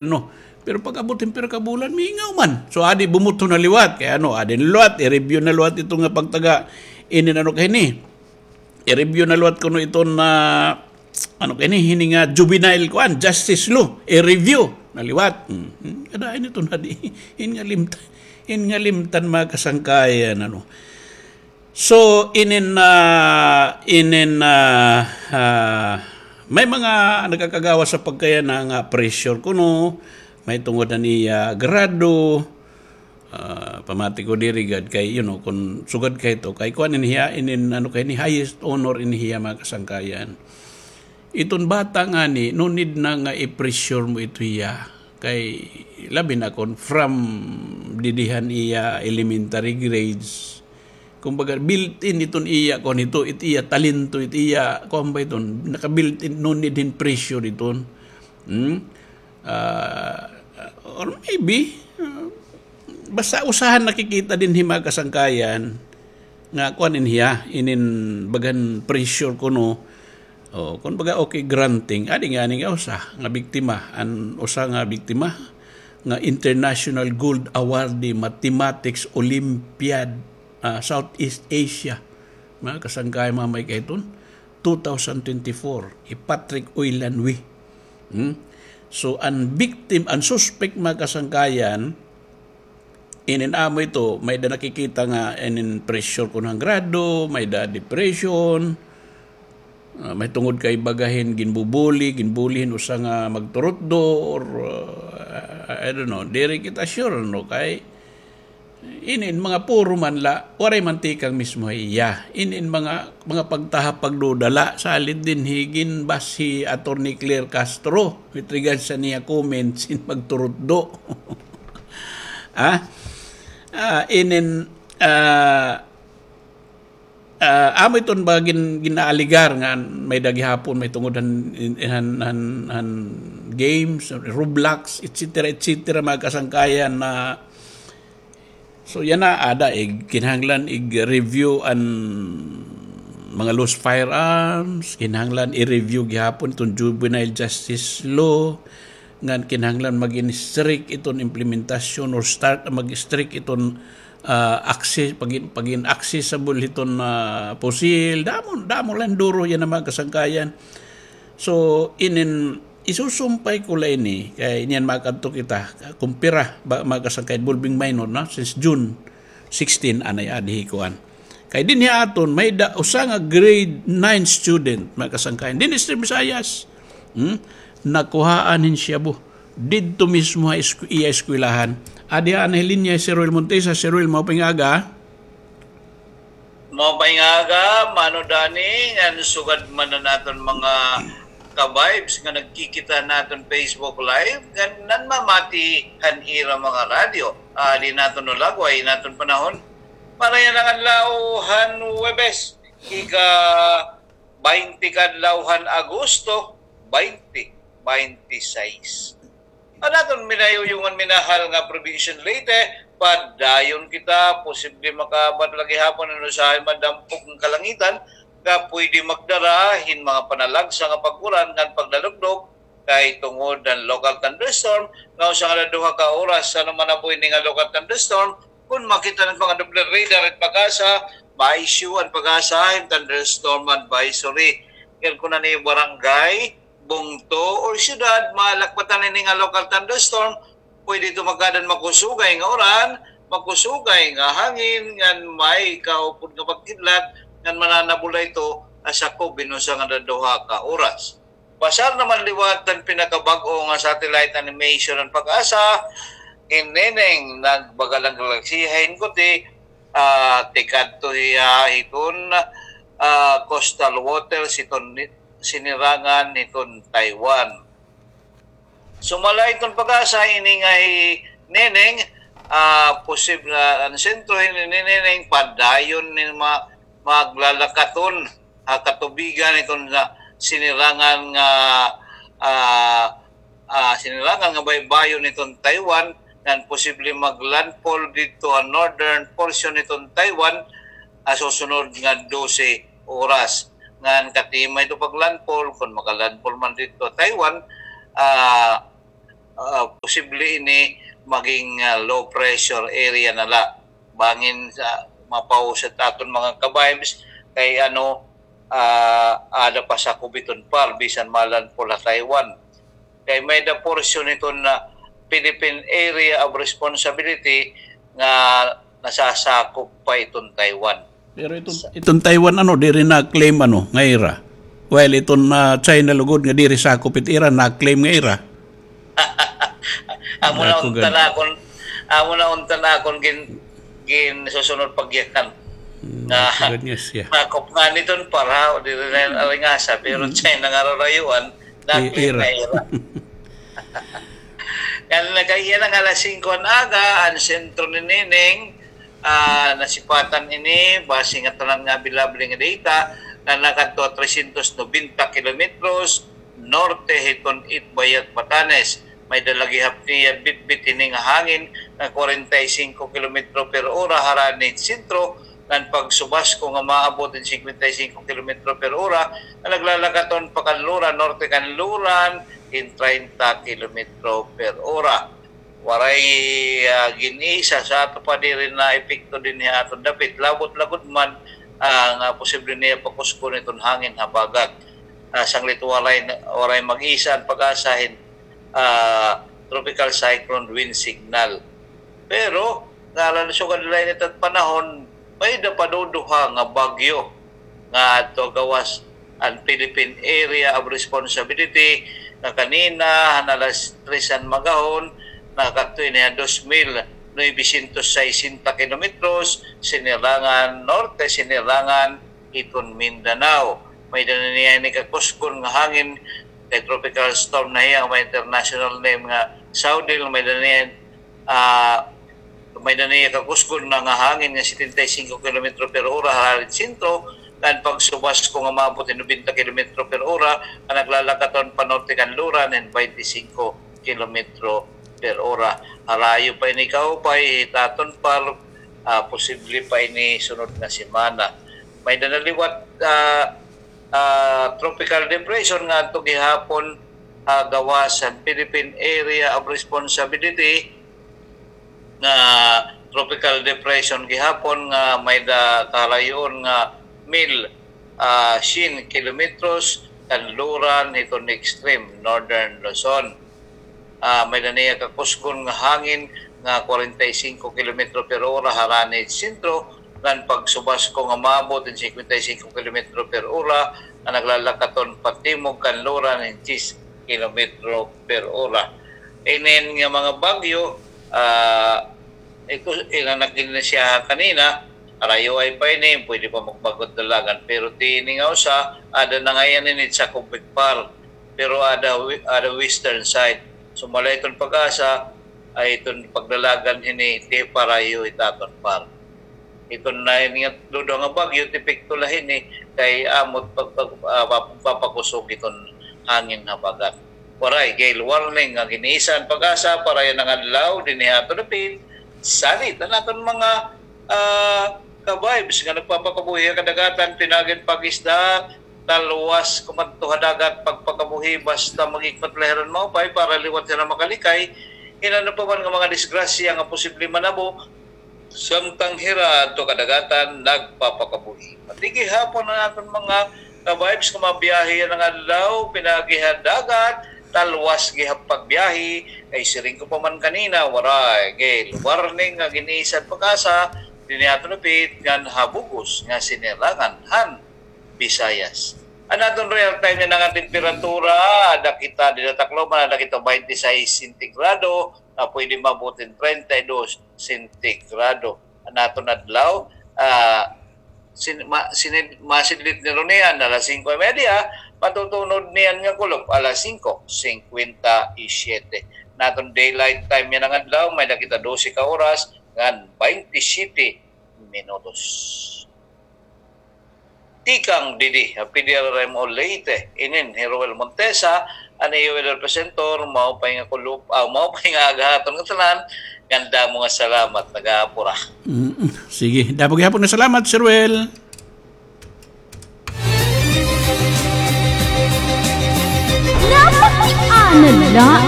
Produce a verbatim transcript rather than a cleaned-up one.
ano. Pero pag-abot hin pira ka bulan, miingaw man. So, adi bumuto na liwat. Kay ano, adi na liwat, i-review na liwat ito nga pagtaga, inin ano kay ni. I-review na liwat kuno iton na, ano kay ni, hini nga juvenile kuan, justice law. I-review na liwat. Hmm. Hmm. Kada ini ito na di, hin nga limtan, hin nga limtan, mga kasangkayan, ano. So, inin, ah, inin, ah, ah, may mga nagakagawas sa pagkayana nga pressure kuno, may tungod han iya grado, ah, pamati ko diri gad kay, you know, kun sugad kay ito, kay kuan ini hiya, inin, ano kay ni, highest honor ini hiya, mga kasangkayan. Iton bata ngani, no need na nga i-pressure mo ito hiya. Kay labi na kon from didi han iya elementary grades. Kumbaga, built-in iton iya, kuan ito, it iya talento, it iya, kuan ba iton, naka-built-in, no need hin pressure iton. Hmm? Ah, or maybe, ah, basta usahan nakikita dinhi, mga kasangkayan, nga kuan ini hiya, inin bagan pressure kuno. O, kun baga, okay, granting. Adi ngani nga usa nga biktima, an usa nga biktima nga International Gold Awardee Mathematics Olympiad, ah, Southeast Asia. Mga kasangkayan, mga may kaiton, two thousand twenty-four, hi Patrick Oylanwi. Hmm? So, an victim, an suspect, mga kasangkayan, inin amo ito, may-ada nakikita nga inin pressure kuno han grado, may-ada depression, ah, may tungod kay baga hin ginbubuli, ginbuli hin usa nga magturutdo, or, ah, I don't know, diri kita sure, no, kay inin mga puro man la, waray man tikang mismo ha iya. Inin mga, mga pagtahap pagduda la, salid dinhi ginbas hi Attorney Claire Castro with regards sa niya comments hin magturutdo. Ah? Ah, inin, ah, ah, amo iton ba gin-, ginaaligar nga may-ada gihapon, may tungod han, han, han, han games, Roblox, et cetera, et cetera, mga kasangkayan na. So, yana, ada, ig-, kinahanglan ig-review an mga loose firearms, kinahanglan i-review gihapon iton juvenile justice law, ngan kinahanglan magin strict iton implementasyon or start, mag-strict iton, ah, access, pagin, pagin accessible hiton, ah, pusil. Damo, damo la hin duro yana, mga kasangkayan. So, inin, isusumpay ko la ini, kay niyan makadto kita, kun pira, ba, mga kasangkayan, involving minor, no? Since June sixteen, anay adi hi kuan. Kay dinhi aton, may-ada usa nga grade nine student, mga kasangkayan. Dinhi sa Visayas. Hmm? Nakuhaan hin shabu. Didto mismo ha esku-, iya eskwelahan. Adi ha, anay linya hi Sir Ruel Montesa. Sir Ruel, maupay nga aga. Maupay nga aga, Mano Danny, ngan sugad man an aton mga ka-vibes nga nagkikita han aton Facebook Live, ngan nanmamati han ira mga radyo. Ah, di naton ulagway in aton panahon. Marayaw nga adlaw han Huwebes, ika-baynte ka adlaw han Agosto, baynte baynte sais. An aton minayuyongan minahal nga Probinsya han Leyte, padayon kita, posible makaabat la gihapon an usahay madampog nga kalangitan nga pwede magdara hin mga panalagsa nga pag-uran ngan pagdalugdog, kay tungod han local thunderstorm nga usa nga duha ka oras. Ano man amo ini nga local thunderstorm, kun makita an mga doble radar it PAGASA, ma-issue an PAGASA hin thunderstorm advisory. Ngan kun ano it barangay, bungto, or syudad, malakbatan ini nga local thunderstorm, pwede ito magkaada hin makusugay nga uran, makusugay nga hangin, ngan may kaupod nga pagkidlat, ngan mananabol la ito ha sakob hin usa ngan duha ka oras. Basar naman liwat an pinakabag-o nga satellite animation han PAGASA, hi Neneng nagbaga la hin galaksiya hin kuti, ah, tikadto hiya hiton, ah, coastal waters hiton ni-, sinirangan hiton Taiwan. Sumala hiton PAGASA ini nga hi Neneng, ah, posible an sentro hini ni Neneng padayon ni ma-, maglalakaton ha katubigan hiton nga sinirangan nga, ah, ah, sinirangan nga baybayon hiton Taiwan, ngan posible maglandfall didto ha northern portion hiton Taiwan ha susunod nga dose oras. Ngan katima ito paglandfall, kun makalandfall man didto ha Taiwan, ah, ah, posible ini maging, ah, low pressure area na la. Bangin sa mapausat aton mga ka-vibes kay ano, ah, ada pa sakop iton par, bisan malandfall ha Taiwan. Kay may-ada portion iton na Philippine Area of Responsibility nga nasasakop pa iton Taiwan. Pero iton, iton Taiwan, ano, diri na-claim, ano, nga ira. While iton, ah, China lugod nga diri sakop it ira, na-claim nga ira. Amo na unta na akon, amo na unta na akon gin-, ginsusunod pagyakan. Mm, nga, sakop nga niton para, o diri na yan aringasa, pero China nga rarayuan, na-claim nga ira. Ngan nagkaiya na nga alas singko an aga, an sentro ni Nining, ah, nasipatan ini, base nga tanan nga available nga data, nga nakadto ha trescientos nobenta kilometros norte hiton Itbayat, Batanes. May-ada la gihap niya bitbit hini nga hangin nga kwarenta y singko kilometro per ora harani hit sentro, ngan pagsubasko nga maabot hin singkwenta y singko kilometro per ora, nga naglalakaton pa kan Luran, norte kan Luran, hin treinta kilometro per ora. Waray, ah, gin-isa sa ato pa diri naepekto dinhi ha aton dapit. Labot la gud man, ah, nga posible niya pakusgon iton hangin habagat. Ah, sanglit waray, waray mag-isa an PAGASA hin, ah, tropical cyclone wind signal. Pero, ngaran sugad la ini it panahon, may-ada pa duduha nga bagyo nga adto gawas an Philippine Area of Responsibility nga kanina han alas tres han magahon nakadto ini ha dos mil novecientos sesenta kilometros, Sinirangan Norte, Sinirangan hiton Mindanao. May-ada na niya ini kakusgon nga hangin kay tropical storm na hiya, may international name nga Saudil, may-ada niya, ah, may-ada niya kakusgon na nga hangin nga setenta y cinco kilometro per ora harani hit sentro, ngan pagsubasko nga maabot hin nobenta kilometro per ora, nga naglalakaton pa norte kan Luran hin baynte singko kilometro per ora. Harayo pa ini kaupay hit aton par, ah, posible pa ini sunod nga semana. May-ada na liwat, ah, ah, tropical depression nga adto gihapon, ah, gawas han Philippine Area of Responsibility nga tropical depression gihapon nga may-ada kaharayoon nga mil, ah, syen kilometros kan Luran hiton extreme northern Luzon. Ah, may-ada niya kakusgon nga hangin nga kwarenta y singko kilometro per ora harani hit sentro, ngan pagsubasko nga maabot hin singkwenta y singko kilometro per ora, nga naglalakaton patimog kan Luran hin diyes kilometro per ora. Inin nga mga bagyo, ah, ito, ina nagin na siya kanina, arayuay pa ini, pwede pa magbag-o dalagan, pero ti ini nga usa, ada na ngay-an ini sa Kubik Par, pero ada wi-, ada western side. So, malay iton PAGASA, ay iton pagdalagan hini ti parayo hit aton par. Iton na ini nga duduha nga bagyo, ti epekto la hini kay amo it pag-, pag-, ah, pap-, papakusog iton hangin habagat. Waray gale warning nga gin-isa han PAGASA para yana nga adlaw dinhi ha aton dapit. Salit an aton mga, ah, ka-vibes nga nagpapakabuhi ha kadagatan, pinaagi hin pag-isda, talwas kumadto ha dagat pagpakabuhi, basta mag-ikot la hira hin maupay para liwat hira makalikay hin ano pa man nga mga disgrasya nga posible manabo samtang hira adto kadagatan nagpapakabuhi. Pati gihapon an aton mga ka-vibes nga mabiyahe yana nga adlaw, pinaagi ha dagat, talwas gihap pagbiyahe, kay siring ko pa man kanina, waray gale warning nga gin-isa han PAGASA dinhi ha aton dapit ngan ha bug-os nga Sinirangan han Visayas. An aton real time yana nga temperatura, ada kita dinhi ha Tacloban, ada kita baynte sais sentigrado, nga pwede maabot hin treinta y dos sentigrado. An aton adlaw, ah, sin-, ma-, sinid-, masidlit ni Ronian alas singko y media, matutunod niyan nga kulop alas singko singkwenta y siyete. An aton daylight time yana nga adlaw, may-ada kita dose ka oras ngan baynte siyete minutos. Tikang didi ha P D R R M O Leyte, inin hi Roel Montesa, an iyo weather presenter, maupay nga kulop, ah, maupay nga aga ha aton ngatanan, ngan damo nga salamat, nag-aapura. Mm, sige, damo gihapon nga salamat, Sir Roel. Napakiana la